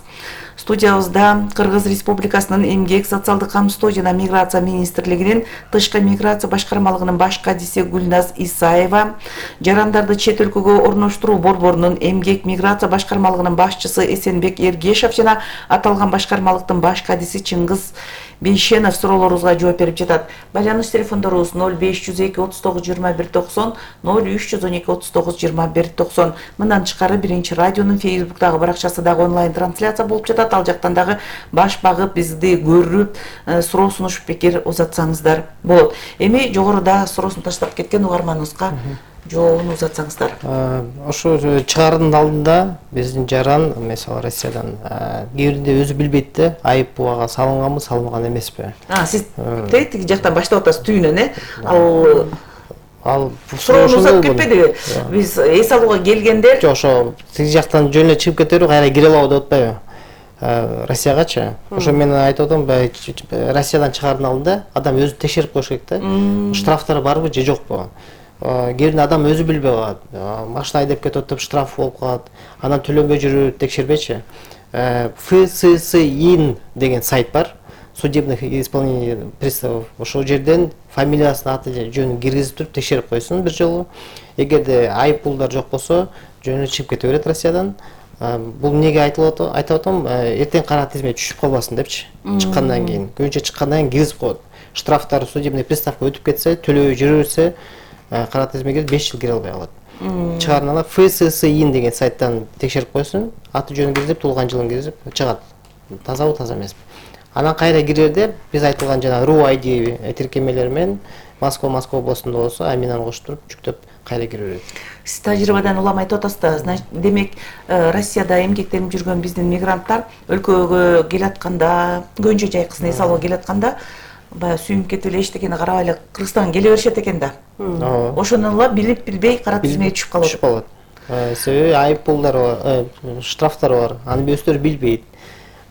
S1: Студиябызда Кыргыз Республикасынын Эмгек, социалдык камсыздоо жана миграция министрлигинин тышкы миграция башкармалыгынын баш кадиси Гүлназ Исаева, жарандарды чет өлкөгө орноштуруу борборунун Эмгек миграция башкармалыгынын башчысы Эсенбек Эргешев жана аталган башкармалыктын баш кадиси Чыңгыз Бейшенов суроолорубузга жооп берип жатат. Байланыш телефондорубуз 0502 39 21 90, 0312 39 21 90. Мындан тышкары биринчи радионун Facebook'тагы баракчасы дагы онлайн трансляция болуп жатат. Ал жактан дагы баш багып бизди көрүп, суроо сунуш пикир узатсаңыздар болот. Эми жогоруда суроосун таштап кеткен угарманыбызга жообун узатсаңыздар.
S4: Ошо чыгаардын алдында биздин жаран, мисалы Россиядан кээбиринде өзү билбейт да, айып буга салынганбы, салынган эмеспи.
S1: Сиз тиги жактан баштап атасыз түйүнөн,
S4: Ал
S1: суроону узап кетпедиби? Биз эс алууга келгендер.
S4: Жок, ошо тиги жактан жөн эле чыгып кетеби, кайра кире алабы деп атпайбы? Россиягачы. Ошо мен айтып атам, Россиядан чыгаардын алдында адам өзү текшерип коюш керек да. Штрафтар барбы же жокпу? Кээбиринде адам өзү билбей калат. Машина айдап кетип атып штраф болуп калат. Анан төлөнбөй жүрүп текшербейчи. ФССИН деген сайт бар. Судебных исполнений приставов. Ошол жерден фамилиясын, аты жөнүн киргизип туруп текшерип койсун бир жолу. Эгерде айып пулдар жок болсо, жөнү чыгып кете берет Россиядан. Бул эмнеге айтып атам, эртең кара тизмеге түшүп калбасын депчи. Чыккандан кийин, көбүнчө чыккандан кийин киргизип коет. Штрафтар судебный приставка өтүп кетсе, төлөбөй жүрүрсө, кара тизмеге 5 жыл кире албай калат. Чыгарына ФССИН деген сайттан текшерип койсун, аты жөнүн киргизип, туулган жылын киргизип чыгат. Тазабы, таза эмеспи. Анан кайра кирерде биз айтылган жана RUID тиркемелер менен Москва облусунда болсо, аминаны коштуруп жүктөп кайра кире берет.
S1: Сиз тажрыйбадан улам айтып атасыз да, демек Россияда эмгектенип жүргөн биздин мигранттар өлкөгө келатканда, Көнчө жайкысын эс алууга келатканда, баягы сүйүнүп кетип эле эчтекени карабай эле Кыргызстанга келе беришет экен да. Ошону билип билбей кара тизмеге түшүп калат.
S4: Себеби айып пулдар бар, штрафтар бар, аны өздөрү билбейт.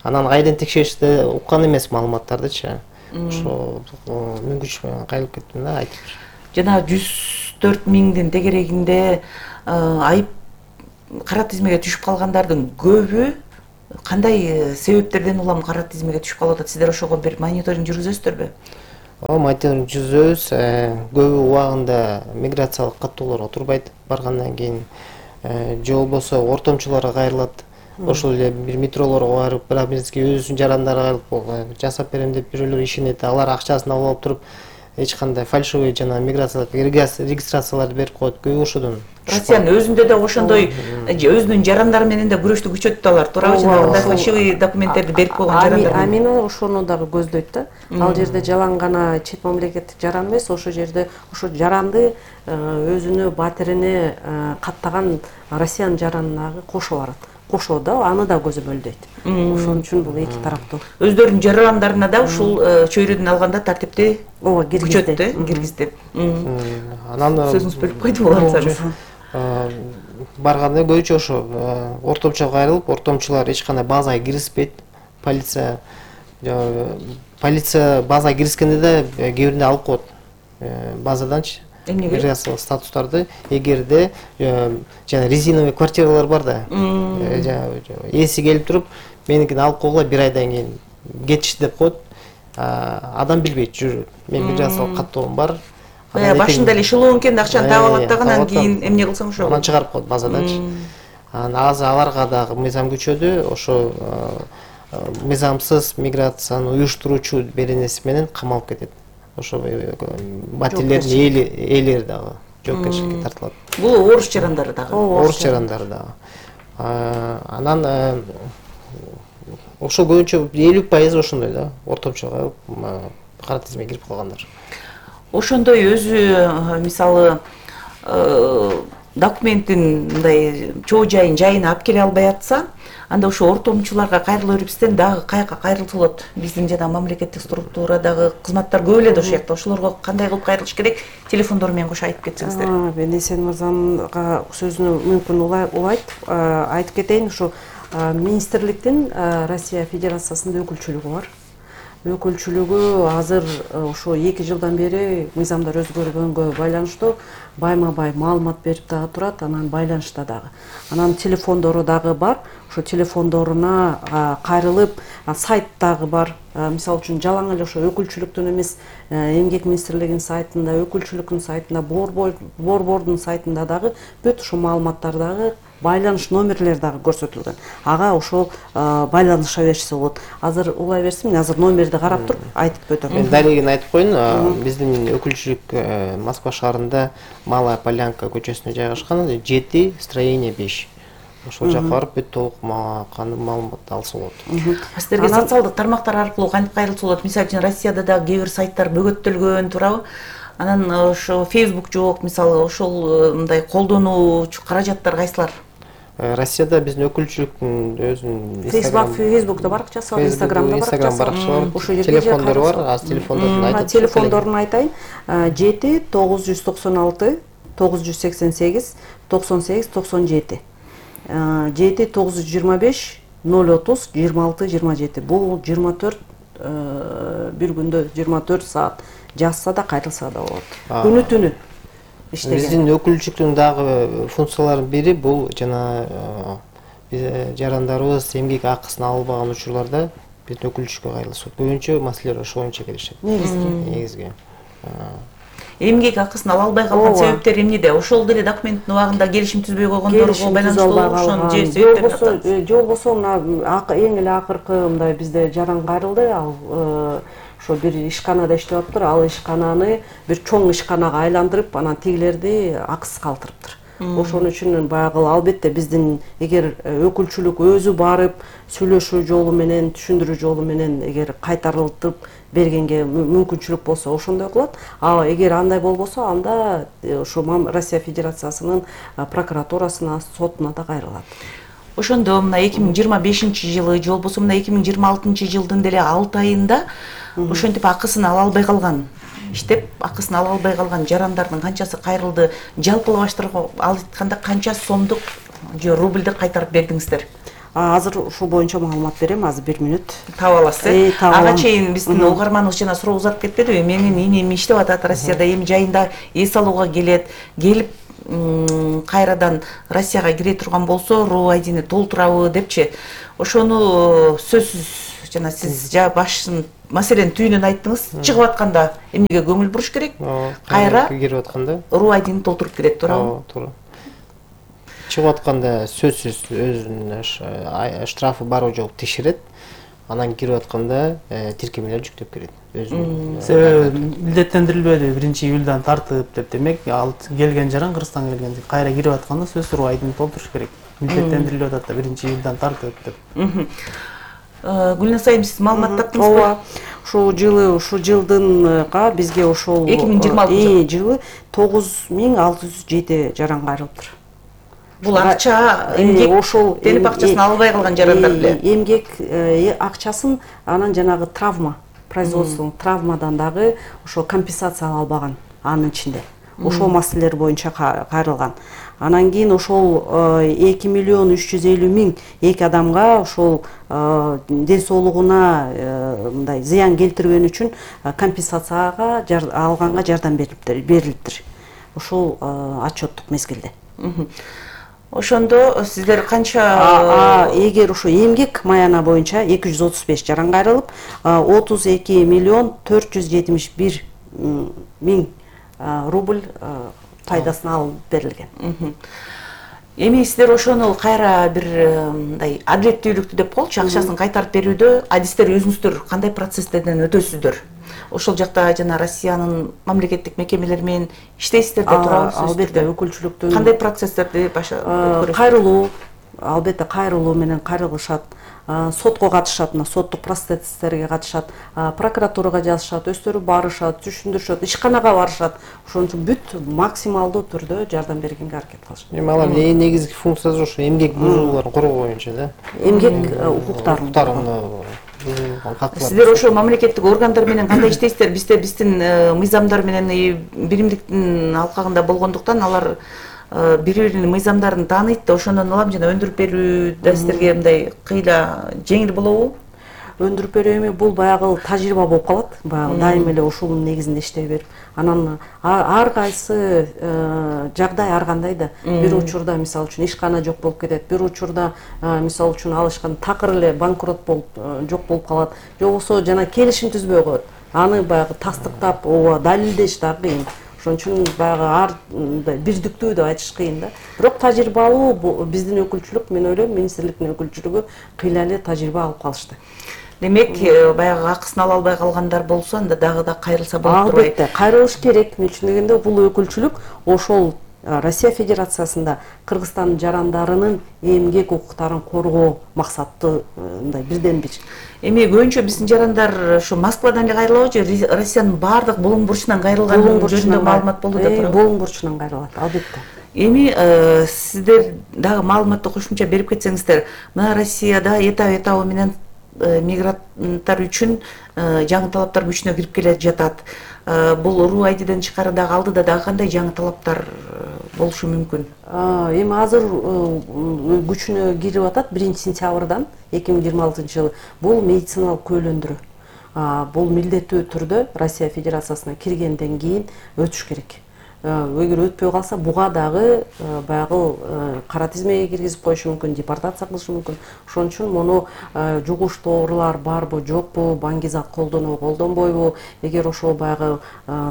S4: Анан кайдан текшериште уккан эмес маалыматтардычы. Ошо мүмкүнчү кайрылып кеттим да айтып.
S1: Жана 104 миңдин тегерегинде айып кара тизмеге түшүп калгандардын көбү кандай себептерден улам кара тизмеге түшүп калып атат? Сиздер ошого бир мониторинг жүргүзөсүздөрбү?
S4: Мониторинг жүргүзөбүз. Көбү убагында миграциялык каттоолорго турбайт баргандан кийин. Же болбосо ортомчуларга кайрылат. Ошол эле бир метролорго барып, бирок бизге өзүнүн жарандары кайрылып жасап берем деп бирөөлөр ишенет. Алар акчасын алып алып туруп, эч кандай фальшивый жана миграциялык регистрацияларды берип коет. Көбү ошодон.
S1: Россиянын өзүндө да ошондой өзүнүн жарандары менен да күрөштү күчөтүп алар, туурабы? Жанагындай фальшивый документтерди берип койгон жарандар.
S2: Амина ошону дагы көздөйт да. Ал жерде жалаң гана чет мамлекеттик жаран эмес, ошол жерде ошо жаранды өзүнө батирине каттаган Россиянын жаранына кошо барат. Кошо да аны да көзөмөлдөйт. Ошон үчүн бул эки тараптуу.
S1: Өздөрүнүн жарандарына да ушул чөйрөдөн алганда тартипти киргизди.
S4: Анан
S1: сөзүңүз бөлүп койдум алсаңыз.
S4: Барганда көбүнчө ошо ортомчуга кайрылып, ортомчулар эч кандай базага киргизбейт. Полиция базага киргизгенде да кээбиринде алып коет. Базаданчы миграциялык статустарды, эгерде жана резиновый квартиралар бар да. Эси келип туруп, меникин алып койгула бир айдан кийин кетишти деп коет. Адам билбейт, жүрөт. Мен миграциялык каттоом бар.
S1: Башында эле шылуункен акчаны таап алат да, анан кийин эмне кылсаң ошо.
S4: Анан чыгарып коет базаданчы. Азыр аларга дагы мыйзам күчөдү. Ошо мыйзамсыз миграцияны уюштуруучу беренеси менен камалып кетет. Ошо материалдердин ээлери дагы. жоопкерчиликке тартылат.
S1: Бул орус жарандары дагы.
S4: Орус жарандары дагы. Анан ошо көбүнчө 50% ошондой да, ортомчу кара тизимге кирип калгандар.
S1: Ошондой өзү мисалы документтин мындай чоо жайын жайына алып келе албай атса, анда ошо ортомчуларга кайрыла бербестен дагы каяка кайрылса болот? Биздин жана мамлекеттик структурадагы кызматтар көп эле да ошол жакта. Ошолорго кандай кылып кайрылыш керек? Телефондор менен кошо айтып кетсеңиздер.
S2: Мен Эсен мырзанга сөзүнө мүмкүн улайт айтып кетейин. Ушу министрликтин Россия Федерациясында өкүлчүлүгү бар. Өкүлчүлүгү азыр ошо 2 жылдан бери мыйзамдар өзгөргөнгө байланыштуу байма-бай маалымат берип дагы турат, анан байланышта дагы. Анан телефондору дагы бар. Ошо телефондоруна кайрылып, сайт дагы бар. Мисалы үчүн жалаң эле ошо өкүлчүлүктүн эмес, эмгек министрлигинин сайтында, өкүлчүлүктүн сайтында, борбордун сайтында дагы бүт ушул маалыматтар дагы, байланыш номерлери дагы көрсөтүлгөн. Ага ошол байланыша беришсе болот. Азыр улай берсем, азыр номерди карап туруп айтып өтөм.
S4: Мен далилин айтып коеюн. Биздин өкүлчүлүк Москва шаарында Малая Полянка көчөсүнө жайгашкан, 7 строение 5. Ошол жакка барып бүт толук маалыматты алса болот.
S1: Сиздерге социалдык тармактар аркылуу кантип кайрылса болот? Мисалы үчүн Россияда да кээ бир сайттар бөгөттөлгөн, туурабы? Анан ошо Facebook жок, мисалы ошол мындай колдонуучу каражаттар кайсылар?
S4: Россияда биздин өкүлчүлүктүн өзүнүн
S2: Facebook'та баракчасы бар, Instagram'да
S4: баракчасы бар. Ошо жерде телефондору бар. Аз телефондорун айтып.
S2: Телефондорун айтайын. 7 996 988 98 97. 7 925 030 26 27. Бул 24 бир күндө 24 саат жазса да кайрылса да болот. Күнү түнү иштеген.
S4: Биздин өкүлчүлүктүн дагы функцияларынын бири бул жана жарандарыбыз эмгек акысын албаган учурларда биздин өкүлчүлүккө кайрылышат. Көбүнчө маселелер ошол боюнча келишет. Негизги.
S1: Эмгек акысын ала албай калган себептер эмнеде? Ошол деле документтин убагында келишим түзбөй койгондорго байланыштуу ошонун же себептерин
S2: же болбосо эң эле акыркы мындай бизде жаран кайрылды, ал ошо бир ишканада иштеп аптыр, ал ишкананы бир чоң ишканага айландырып, анан тигилерди акысыз калтырыптыр. Ошон үчүн баягы албетте биздин эгер өкүлчүлүк өзү барып сүйлөшүү жолу менен, түшүндүрүү жолу менен эгер кайтарылтып бергенге мүмкүнчүлүк болсо ошондой кылат. А эгер андай болбосо, анда ошо Россия Федерациясынын прокуратурасына, сотуна да кайрылат.
S1: Ошондо мына 2025-жылы же болбосо мына 2026-жылдын деле 6 айында ошентип акысын ала албай калган, иштеп акысын ала албай калган жарандардын канчасы кайрылды? Жалпылаштырып айтканда канча сомдук же рубльдик кайтарып бердиңиздер?
S2: Азыр ушул боюнча маалымат берем, азыр 1 минут.
S1: Таап аласыз. Ага чейин биздин угарманыбыз жана суроо узатып кетпедиби? Менин инем иштеп атат Россияда, эми жайында эс алууга келет, келип кайрадан Россияга кире турган болсо, РУ-айдини толтурабы депчи. Ошону сөзсүз жана сиз башын маселенин түйүнүн айттыңыз. Чыгып атканда эмнеге көңүл буруш керек? Кайра
S4: кирип атканда
S1: РУ-айдини толтуруп келет, туурабы?
S4: Туура. Чыгып атканда сөзсүз өзүнүн штрафы барбы жок текшерет. Анан кирип атканда тиркемелер жүктөп келет.
S3: Себеби милдеттендирилбеди 1-июлдан тартып деп, демек ал келген жаран Кыргызстанга келген кайра кирип атканда сөзсүз РУ-айдини толтуруш керек. Милдеттендирилип атат да 1-июлдан тартып деп.
S1: Гүлназ айым, сиз маалымат таптыңызбы?
S2: Ооба. Ушул жылдынга бизге ошол
S1: 2026
S2: жылы 9607 жаран кайрылыптыр.
S1: Бул акча эмгек телеп акчасын албай калган жарандар эле.
S2: Эмгек акчасын анан жанагы травма, производственный травмадан дагы ошо компенсация ала албаган анын ичинде. Ошол маселелер боюнча кайрылган. Анан кийин ошол 2 миллион 350 миң эки адамга ошол ден соолугуна мындай зыян келтирген үчүн компенсацияга алганга жардам берилиптир. Ошол отчеттук мезгилде.
S1: Ошондо сиздер канча
S2: эгер ошо эмгек маяна боюнча 235 жаран кайрылып, 32 миллион 471 миң рубль пайдасын алып берилген.
S1: Эми сиздер ошону кайра бир мындай адилеттүүлүктү деп болчу, акчасын кайтарып берүүдө адистер өзүңүздөр кандай процесстерден өтөсүздөр? Ошол жакта жана Россиянын мамлекеттик мекемелери менен иштейсиздер деп турабыз.
S2: Албетте, өкүлчүлүктүн
S1: кандай процесстерди өткөрөсүздөр?
S2: Кайрылуу, албетте кайрылуу менен кайрылышат, сотко катышат, мына соттук процесстерге катышат, прокуратурага жазышат, өздөрү барышат, түшүндүрүшөт, ишканага барышат. Ошон үчүн бүт максималдуу түрдө жардам бергенге аракет кылышат.
S4: Эми алардын негизги функциясы ошо эмгек бузууларын коргоо боюнча да.
S2: Эмгек укуктарын.
S1: Сиздер ошо мамлекеттик органдар менен кандай иштейсиздер? Биздин мыйзамдар менен биримдиктин алкагында болгондуктан алар бири-биринин мыйзамдарын тааныйт да, ошондон улам жана өндүрүп берүү да сиздерге мындай кыйла жеңил болобу?
S2: Өндүрүп берүү эми бул баягы тажрыйба болуп калат. Баягы дайым эле ушунун негизинде иштей берип, анан ар кайсы жагдай ар кандай да. Бир учурда мисалы үчүн ишкана жок болуп кетет, бир учурда мисалы үчүн ал ишкана такыр эле банкрот болуп жок болуп калат, же болбосо жана келишим түзбөй коет. Аны баягы тастыктап, ооба далилдеш да кыйын. Ошон үчүн баягы ар бирдиктүү деп айтыш кыйын да. Бирок тажрыйбалуу биздин өкүлчүлүк, мен ойлойм, министрликтин өкүлчүлүгү кыйла эле тажрыйба алып калышты.
S1: Демек, баягы акысын ала албай калгандар болсо, анда дагы да кайрылса болот турбайбы?
S2: Албетте, кайрылыш керек. Мен үчүн дегенде бул өкүлчүлүк ошол Россия Федерациясында Кыргызстандын жарандарынын эмгек укуктарын коргоо максаттуу мындай бирден бир.
S1: Эми көбүнчө биздин жарандар ошо Москвадан эле кайрылабы же Россиянын баардык булуң бурчунан кайрылган жөнүндө маалымат болду деп турабы?
S2: Булуң бурчунан кайрылат, албетте.
S1: Эми сиздер дагы маалыматты кошумча берип кетсеңиздер, мына Россияда этап менен мигранттар үчүн жаңы талаптар күчүнө кирип келе жатат. Бул РУ-айдиден тышкары дагы алдыда дагы кандай жаңы талаптар болушу мүмкүн?
S2: Эми азыр күчүнө кирип атат 1-сентябрдан 2026 жылы. Бул медициналык көйлөндүрүү. Бул милдеттүү түрдө Россия Федерациясына киргенден кийин өтүш керек. Эгер өтпөй калса, буга дагы баягы кара тизмеге киргизип коюшу мүмкүн, депортация кылышы мүмкүн. Ошон үчүн муну жугуштуу оорулар барбы, жокпу, баңги зат колдонобу, колдонбойбу, эгер ошол баягы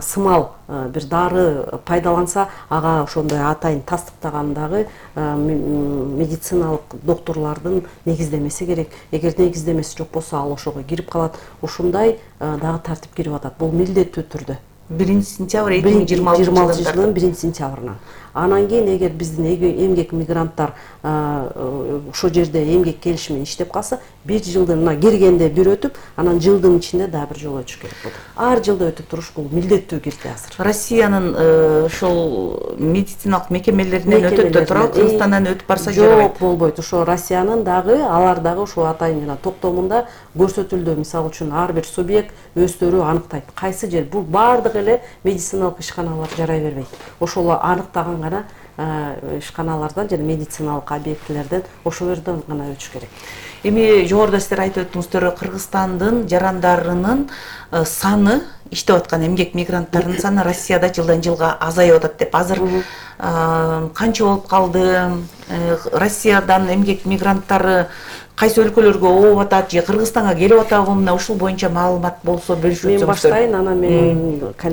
S2: сымал бир дары пайдаланса, ага ошондой атайын тастыктаган дагы медициналык доктурлардын негиздемеси керек. Эгер негиздемеси жок болсо, ал ошого кирип калат. Ушундай дагы тартип кирип атат. Бул милдеттүү түрдө. 1-сентябрь 2026 жылдын 1-сентябрынан. Анан кийин эгер биздин эмгек мигранттар ошол жерде эмгек келишими менен иштеп калса, 1 жылдын мына киргенде бир өтүп, анан жылдын ичинде дагы бир жолу өтүш керек болот. Ар жылда өтүп туруш бул милдеттүү кирди азыр.
S1: Россиянын ошол медициналык мекемелеринен өтөт да турабы, Кыргызстандан өтүп барса жарабайт.
S2: Жок, болбойт. Ошо Россиянын дагы, алар дагы ошо атайын жана токтомунда көрсөтүлдү. Мисалы үчүн ар бир субъект өздөрү аныктайт. Кайсы жер? Бул баардык эле медициналык ишканалар жарай бербейт. Ошол аныктаган гана ишканалардан жана медициналык объектилерден ошол жерден гана өтүш керек.
S1: Эми жогоруда сиздер айтып өттүңүздөр, Кыргызстандын жарандарынын саны, иштеп аткан эмгек мигранттарынын саны Россияда жылдан жылга азайып атат деп. Азыр канча болуп калды? Россиядан эмгек мигранттары кайсы өлкөлөргө ооп атат же Кыргызстанга келип атабы? Мына ушул боюнча маалымат болсо бөлүшүп өтсөңүздөр.
S2: Мен баштайын, анан мен